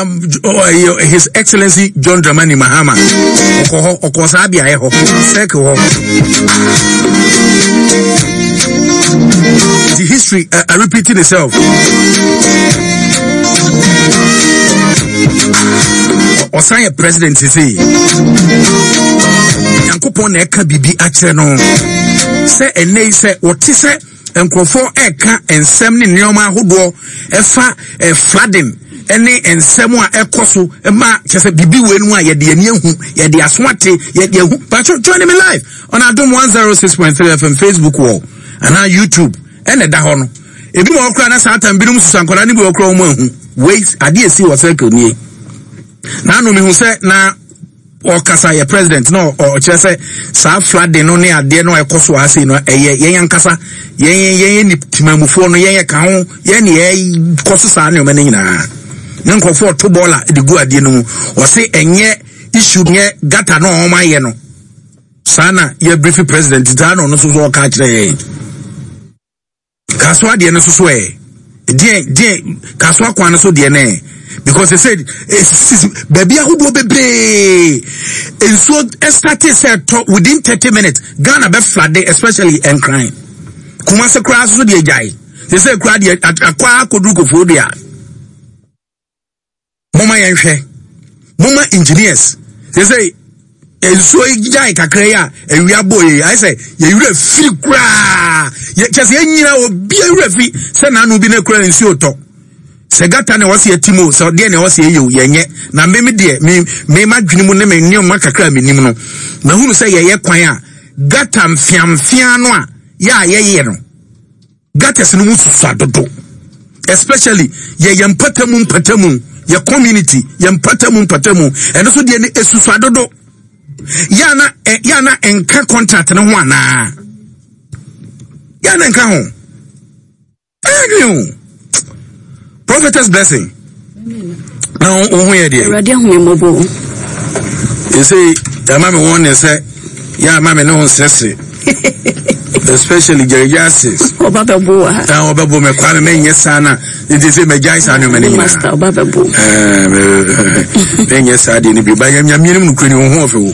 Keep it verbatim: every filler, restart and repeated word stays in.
Um, oh, His Excellency John Dramani Mahama ɔkɔ hɔ, ɔkɔ saa beaeɛ hɔ, circle hɔ. The history uh, uh, repeating itself. Ɔsan yɛ president sese Nyankopɔn na ɛka biribi akyerɛ no sɛ ɛnɛ yi sɛ wɔte sɛ nkurɔfoɔ ɛka nsɛm ne nneɛma ahodoɔ ɛfa ɛ flooding ɛne nsɛm a ɛkɔ so ma kyerɛ sɛ biribi wɔ mu a yɛde ani ahu, yɛde aso ate, yɛde ahu. Patro, join me live on Adom one oh six point three F M Facebook wall anaa YouTube ɛna ɛda hɔ no. Ebi wɔ hɔ koraa na saa tam binom susu nkwadaa no bi wɔ koraa wɔn ahu wei adeɛ esi wɔ circle nie. Na ano mihu sɛ na ɔkasa yɛ president na ɔkyerɛ sɛ saa flooding no ne adeɛ no a ɛkɔ so ase no, ɛyɛ yɛn ankasa, yɛn yɛn yɛn timamufoɔ no, yɛn yɛ ka ho, yɛn ne yɛ so saa nneɛma no nyinaa ne nkurɔfoɔ ɔto bɔɔla de gu adeɛ no mu. Ɔse ɛnyɛ issue, nyɛ gutter no a wɔn ayɛ no saa na yɛ brief president saa na ɔno nso so ɔka akyerɛ yɛn. Kasoa deɛ no nso so ɛ deɛ deɛ Kasoa kwan no so deɛ no ɛ because they said esisi baabi ahodoɔ bebree. Nsuo ɛ start sɛ ɛtɔ, within thirty minutes Ghana bɛ flood, especially Nkran, Kumase koraa so deɛ gyae. They say koraa deɛ akɔ akɔduru Kofoɔ deɛ a moma yɛnhwɛ, moma engineers. They say nsuo yi gyae kakra yi a awia bɔ yi, ayɛ sɛ yɛwura firi koraa, kyɛ sɛ yɛnyina obi awura fi sɛ n'ano bi na kura nsuo tɔ sɛ gutter na ɛwɔ sɛ yɛti mu sɛ deɛ na ɛwɔ sɛ yɛyɛ o, yɛnyɛ. Na me me deɛ, me me ma dwene mu ne me nneɛma kakra a menim no, mahunu sɛ yɛyɛ kwan a gutter mfiamfia no a yɛ a yɛyɛ no, gutters no mu susua dodo, especially yɛyɛ mpatamu mpatamu, yɛ community yɛ mpatamu mpatamu, ɛno so deɛ no esusua dodo. Yana ɛ yana nka contract no ho anaa yana nka ho ɛyɛ o. Prophetess Blessing, na wo ho yɛ deɛ? Awurade ahu me mmɔbɔ. Ɛsɛ ɛma me wɔn ne sɛ yɛ ama me ne ho nsɛsere, especially Jerry ase. Ɔba bɛbo wɔ ha. Na ɔbɛbo me kwa me menyɛ saa na nti sɛ magyae saa nneɛma no nyinaa. Master, ɔba bɛbo. Menyɛ saa deɛ no bio ba. Nyame no nokura ni, wo ho ɔfɛ wo.